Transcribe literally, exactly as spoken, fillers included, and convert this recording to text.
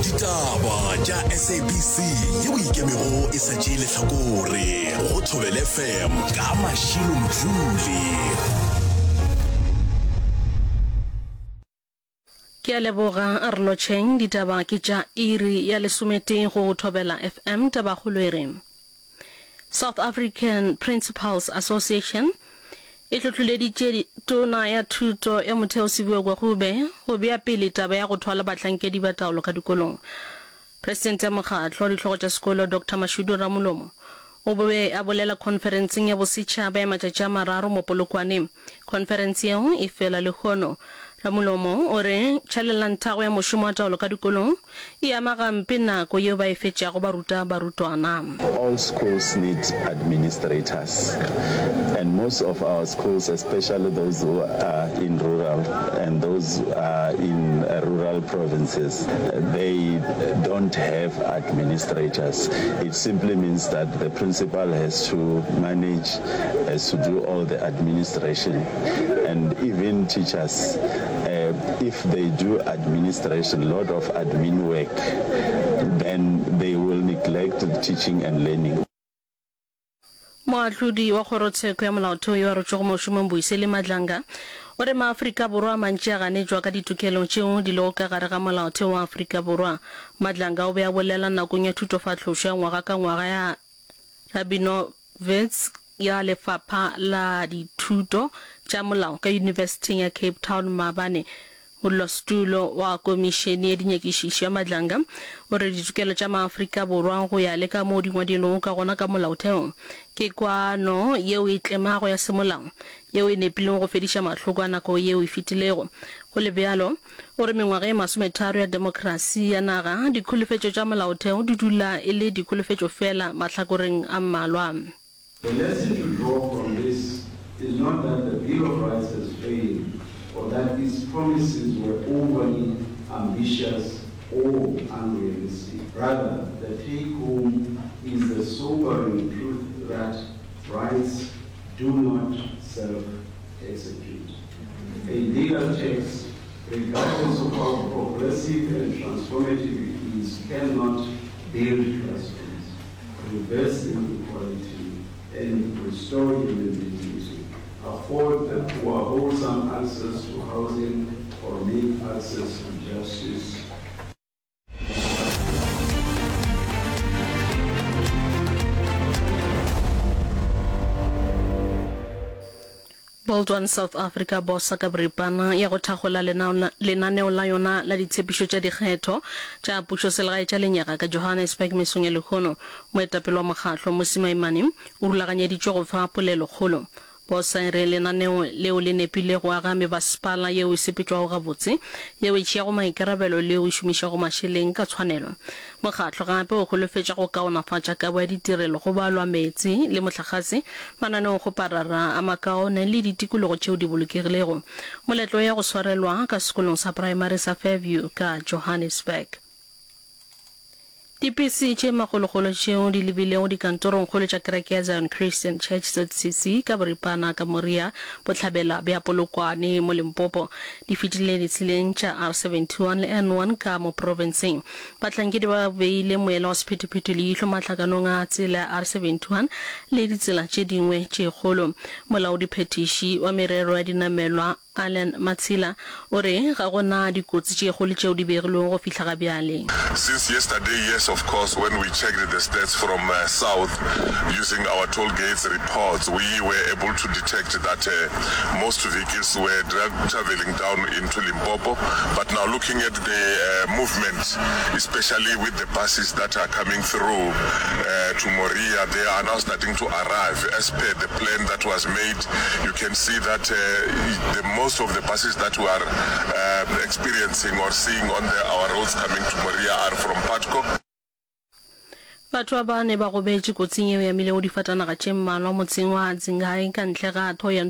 Ditaba tša SABC yeo e ikemego e sa tšee lehlakore go Thobela FM ka Mashilo Mdluli. Ke a leboga a re lotšheng ditaba ke tša iri ya lesometee go Thobela FM tabakgolo e re South African Principals Association e hlohloleditše tona ya thuto ya motheo Siviwe Gwarube go bea pele taba ya go thwala bahlankedi ba taolo ka dikolong. Presidente ya mokgatlo wa dihlogo tša sekolo Doctor Mashudu Ramolomo o be a bolela khonferenseng ya bosetšhaba ya matšatši a mararo mo Polokwane. Khonferense yeo e fela lehono. Ramolomo o re tšhalelantago ya mošomo wa taolo ka dikolong e ama gampe nako yeo ba e fetšago ba ruta barutwana. All schools need administrators and most of our schools, especially those who are in rural and those are in rural provinces, they don't have administrators. It simply means that the principal has to manage, has to do all the administration and even teachers, uh, if they do administration, lot of admin work, then they will neglect the teaching and learning. Moahlodi wa kgorotsheko ya molaotheo yo a rotšwego mošomong Buyiseli Madlanga o re maAfrika Borwa a mantši a ganetšwa ka ditokelo tšeo di lego ka gare ga molaotheo wa Afrika Borwa. Madlanga o be a bolela nakong ya thutofahlošo ya ngwaga ka ngwaga ya Rabinowitz ya Lefapha la Dithuto tša Molao ka Yunibesithing ya Cape Town maabane. Modulasetulo wa Komišene ya Dinyakišišo ya Madlanga o re ditokelo tša maAfrika Borwa go ya le ka moo di ngwadilwego ka gona ka molaotheong ke kwano yeo e tlemago ya semolao yeo e nepilego go fediša mahloko a nako yeo e fetilego. Go le bjalo, o re mengwaga e masometharo ya demokrasi ya naga, dikholofetšo tša molaotheo di dula e le dikholofetšo fela mahlakoreng a mmalwa. The lesson to draw from this is not that the Bill of Rights has failed or that its promises were overly ambitious or unrealistic. Rather, the take-home is the sobering truth that rights do not self-execute. A legal text, regardless of how progressive and transformative it is, cannot build classrooms, reverse inequality, and restore human dignity, afford the poor wholesome access to housing, or make access to justice Bold One South Africa bosa ka boripana ya go thakgola lenaneo la yona la ditshepišo tša dikgetho tša pušoselegae tša lenyaga ka Johannesburg mesong ya lehono. Moetapele wa mokgatlo Mmusi Maimane o rulaganyeditšwe go fa polelokgolo. Bosa e re lenaneo leo le nepile go aga mebasepala yeo e sepetšwago gabotse, yeo e tšeago maikarabelo le yeo e šomišago mašeleng ka tshwanelo. Mokgatlo gape o holofetša go kaonafatša kabo ya ditirelo go balwa meetse le mohlagase, mananeokgoparara a makaone le ditikologo tšeo di bolokegilego. Moletlo ya go swarelwa ka sekolong sa praemari sa Fairview ka Johannesburg. Dipese tše makgolokgolo tšeo di lebilego dikantorongkgolo tša kereke ya Zion Christian Church, ZCC, ka boripana ka Moria, bohlabela bja Polokwane mo Limpopo, di fetile ditseleng tša R seventy one le N one ka mo profenseng. Bahlankedi ba beile moela wa sephethephethe leihlo mahlakanong a tsela ya R seventy one le ditsela tše dingwe tše kgolo. Molaodiphethiši wa merero ya dinamelwa Allan Matshila o re ga go na dikotsi tše kgolo tšeo di begilwego go fihla ga bjale. Since yesterday, yes of course, when we checked the stats from south using our toll gates reports, we were able to detect that most vehicles were travelling down into Limpopo. But now looking at the movement, especially with the buses that are coming through to Moria, they are now starting to arrive as per the plan that was made. You can see that the most of the buses that we are uh, experiencing or seeing on the, our roads coming to Moria are from Putco. Batho ba bane ba gobetše kotsing yeo e amilego difatanaga tše mmalwa motseng wa Dzingai ka ntle ga Thohoyandou.